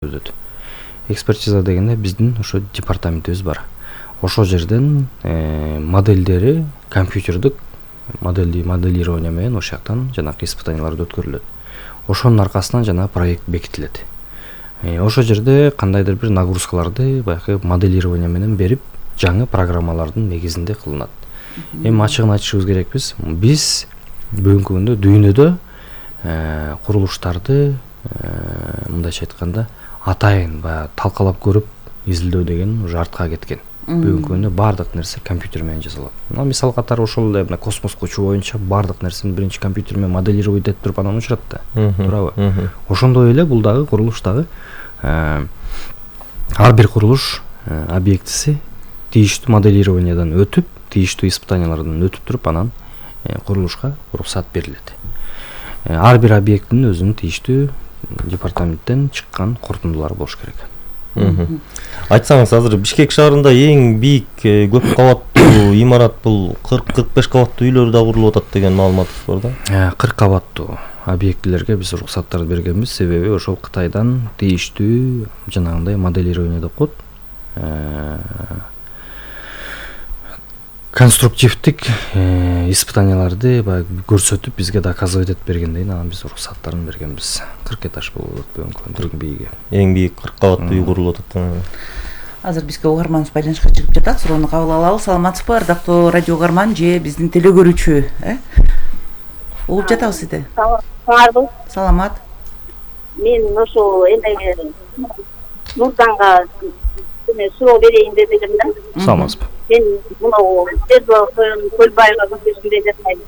өтөт. Экспертиза дегенде биздин ошо департаментибиз бар. Ошол жерден модельдери компьютердик моделирование менен ошол жактан жанагы испытанияларды өткөрүлөт. Ошонун аркасынан жанагы проект бекитилет. Ошол жерде кандайдыр бир нагрузкаларды баягы моделирование менен берип, жаңы программалардын негизинде кылынат. Эми ачыгын айтышыбыз керекпиз. Биз бүгүнкү күндө дүйнөдө курулуштарды мындайча айтканда атайын баягы талкалап көрүп изилдөө деген уже артка кеткен. Бүгүнкү күндө бардык нерсе компьютер менен жасалат. Мисал катары ошол эле космоско учуу боюнча бардык нерсени биринчи компьютер менен моделировать этип туруп анан учурат да. Туурабы? Ошондой эле бул дагы курулуш дагы ар бир курулуш объектиси тийиштүү моделированиядан өтүп, тийиштүү испытаниялардан өтүп туруп анан курулушка уруксат берилет. Ар бир объекттин өзүнүн тийиштүү департаменттен чыккан корутундулары болуш керек. Айтсаңыз, азыр Бишкек шаарында эң бийик көп кабаттуу имарат бул 40-45 кабаттуу үйлөр да курулуп атат деген маалыматыбыз бар да. 40 кабаттуу объектилерге биз уруксаттарды бергенбиз, себеби ошол Кытайдан тийиштүү жанагындай моделирование деп коет. Конструктивдик испытанияларды көрсөтүп бизге доказывать этип бергенден кийин анан биз уруксаттарын бергенбиз. 40 этаж болот бүгүнкү бийиги. Эң бийик 40 кабаттуу үй курулуп атат. Азыр бизге угарманыбыз байланышка чыгып жатат. Суроону кабыл алалы. Саламатсызбы, ардактуу радио угарман же биздин телегөрүүчү? Угуп жатабыз сизди. Саламатсызбы? Саламат. Мен ошо эле Нурданга суроо берейин деп элем да. Саламатсызбы. Мен мына Көлбайга көчөсүндө жашайм.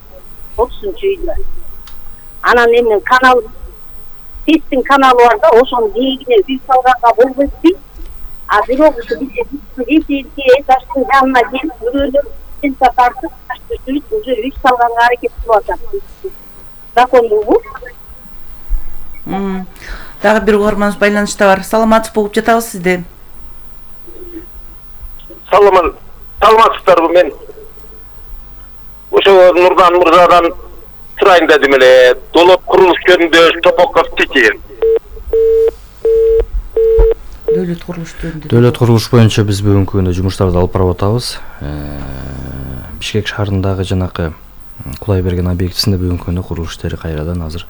30-чу үйдө. Анан эми канал Тестин каналы бар да, ошонун жээгине үй салганга болбойт дейт. А бирок ушу бизде этаждын жанына келип, бирөөлөр тенса тартып, таштырып уже үй салганга аракет кылып атат. Закондугу. Дагы бир угарманыбыз байланышта бар. Саламатсызбы, угуп жатабыз сизди. Саламатсыздарбы, мен ошо Нурдан мырзадан сурайын дедим эле. Долот курулуш жөнүндө Топоков Тити. Дөлөт курулуш боюнча биз бүгүнкү күндө жумуштарды алып барып атабыз. Бишкек шаарындагы жанакы Кудайберген объектисинде бүгүнкү күндө курулуш иштери кайрадан азыр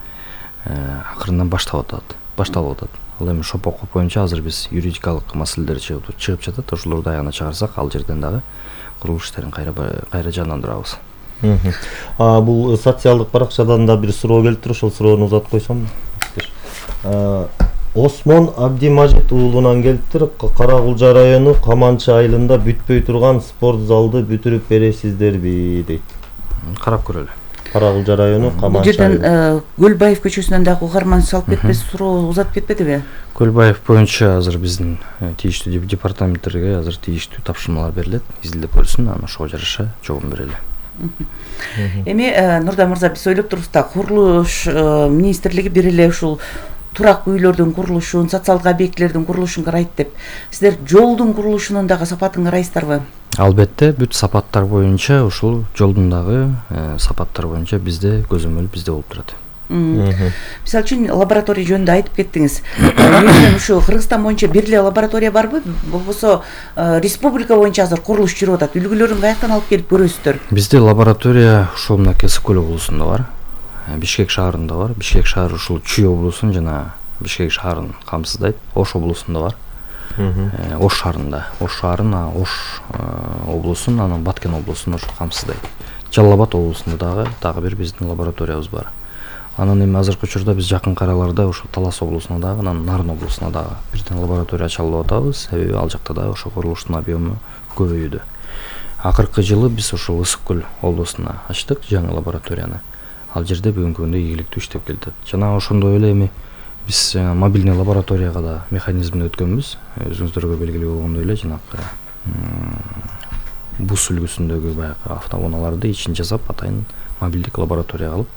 акырындан башталып атат. Ал эми Шопоков боюнча азыр биз юридикалык маселелер чыгып жатат. Ошолорду аягына чыгарсак, ал жерден дагы курулуш иштерин кайра жандандырабыз. Бул социалдык баракчадан да бир суроо келиптир, ошол суроону узатып койсом. Осмон Абдимажит уулунан келиптир. Каракулжа району Каманчы айылында бүтпөй турган спорт залды бүтүрүп бересиздерби дейт. Карап көрөлү. Каракулжа району Каманчы. Бул жерден Көлбаев көчөсүнөн дагы угарман салып кетпес, суроо узатып кетпедиби? Көлбаев боюнча азыр биздин тийиштүү департаменттерге азыр тийиштүү тапшырмалар берилет, изилдеп көрсүн, анан ошого жараша жогун берели. Эми Нурдан мырза, биз ойлоп турбуз да, курулуш министрлиги бир эле ушул турактуу үйлөрдүн курулушун, социалдык объектилердин курулушун карайт деп. Сиздер жолдун курулушунун дагы сапатын карайсыздарбы? Албетте, бүт сапаттар боюнча ушул жолдун дагы сапаттар боюнча бизде көзөмөл бизде болуп турат. Мисалы үчүн лаборатория жөнүндө айтып кеттиңиз. Мен ушу Кыргызстан боюнча бир эле лаборатория барбы? Болбосо республика боюнча азыр курулуш жүрүп атат. Үлгүлөрүн каяктан алып келип көрөсүздөр? Бизде лаборатория ушул мына Кесиккөл облусунда бар. Бишкек шаарында бар. Бишкек шаары ушул Чүй облусун жана Бишкек шаарын камсыздайт. Ош облусунда бар. Ош шаарында. Ош шаарын, Ош облусун, анан Баткен облусун ошо камсыздайт. Жалал Абад облусунда дагы бир биздин лабораториябыз бар. Анан эми азыркы учурда биз жакынкы араларда ошо Талас облусуна дагы, анан Нарын облусуна дагы бирден лаборатория ачалып атабыз. Себеби ал жакта дагы ошо курулуштун объему көбөйүүдө. Акыркы жылы биз ошол Ысык-Көл облусуна ачтык жаңы лабораторияны. Ал жерде бүгүнкү күндө ийгиликтүү иштеп келатат. Жана ошондой эле эми биз мобильный лабораторияга да механизмин өткөнбүз. Өзүңүздөргө белгилүү болгондой эле жанакы бус үлгүсүндөгү баягы автоунааларды ичин жасап, атайын мобилдик лабораторияга алып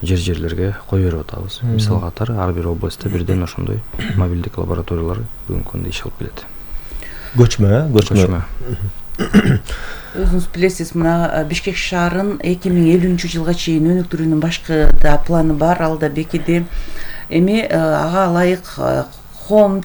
жерлерге кое берип атабыз. Мисал катары ар бир областта бирден ошондой мобилдик лабораториялар бүгүнкү күндө иш алып келет. Көчмө. Өзүңүз билесиз, мына Бишкек шаарын 2050-жылга чейин өнүктүрүүнүн башкы да планы бар, ал да бекиди. Эми ага ылайык хом